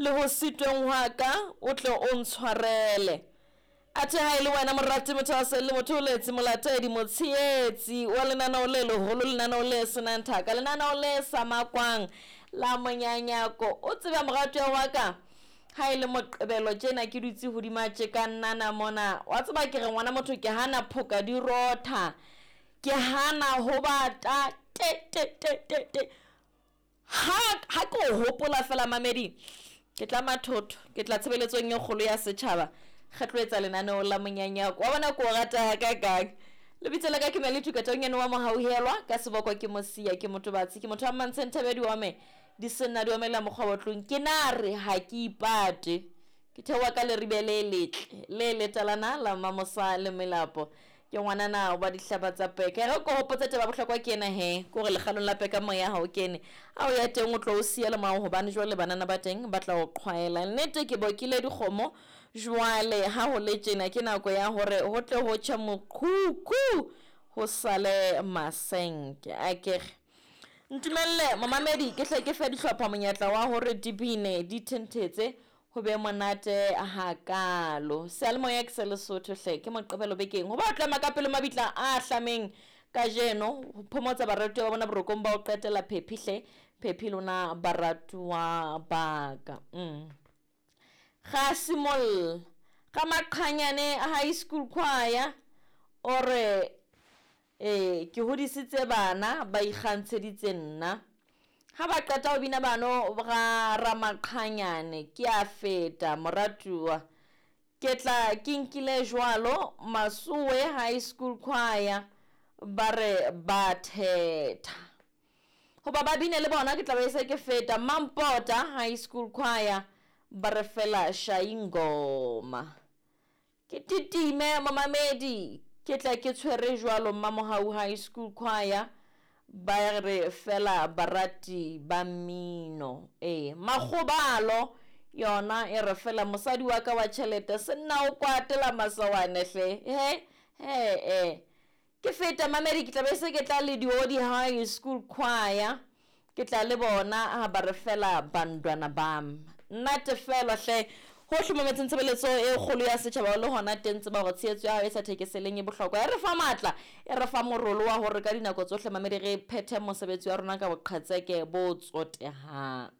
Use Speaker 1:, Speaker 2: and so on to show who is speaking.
Speaker 1: Le ho sitweng hwa ka o tle o ntshwarele. Athe ha e le wena morati, mothahaselli, motholetsi, molatedi, motshehetsi wa lenaneo le leholo, lenaneo le senang thaka, lenaneo le sa makwang la monyanyako, o tsebe moratuwa wa ka, ha e le Moqebelo tjena ke dutse hodima tje ka nnana mona, wa tseba ke re ngwana motho ke hana phoka di rotha, ke hana ho bata te te te te te. Ha ha ke o hopola fela mamedi, ke tla mathotho, ke tla tshebeletsong e kgolo ya setjhaba, re tlo etsa lenaneo la monyanyako. Wa bona ke o rata hakakang. Lebitso la ka ke Melitu Katonyane wa Mohauhelwa, ka seboko ke Mosia, ke Motobatsi, ke motho wa Mmantsheng Thabedi wa me, di senna di omella mokgwa wa tlung. Ke na re ha ke ipate. Ke theoha ka leribe le letle, le letalana la Mamosa le Melapo. Ke ngwanana wa dihlaba tsa peka. E re ko hopotse taba bohlokwa ke ena he, ke hore lekgalong la peka moya ha o kene. Ha o ya teng o tlo o siya le morao hobane jwale banana ba teng ba tla o qhwaela. Nnete ke bokile dikgomo jwale ha ho le tjena ke nako ya hore ho tle ho tjhe mokhukhu ho sale masenke. Akere ntumelle momamedi ke hle ke fe dihlopha monyetla wa hore di bine di thenthetse ho be monate hakaalo. Seyalemoya ke se Lesotho hle, ke Moqebelo bekeng. Ho ba tlema ka pele mabitla a hlameng kajeno, ho phomotsa baratuwa ba bona borokong ba ho qetela phephi hle, phephi lona baratuwa ba ka. Ga simolla ga Maqhanyane High School Choir o re ee ke hodisitse bana ba ikgantsheditse nna. Ha ba qeta ho bina bano ga Ramaqhanyane ke a feta moratuwa. Ke tla ke nkile jwalo Masowe High School Choir ba re ba thetha. Hoba ba bine le bona ke tla be se ke feta Mampota High School Choir ba re fela shayingoma. Ke titime momamedi ke tla ke tshwere jwalo Mmamohau High School Choir ba re fela barati ba mmino. Ee, Makgobalo yona e re fela mosadi wa ka wa tjhelete senna o kwatela masawane hle. He he e. Ke feta mamedi ke tla be se ke tla le Diodi High School Choir ke tla le bona ha ba re fela bandwana bam. Nna tefelo hle hohle mametseng tshebeletso e kgolo ya setjhaba o le hona teng tseba hore tshehetso ya hao e sa thekeseleng e bohlokwa. E re fa matla, e re fa morolo wa hore ka dinako tsohle mamedi re phethe mosebetsi wa rona ka boqhetseke bo tsotehang.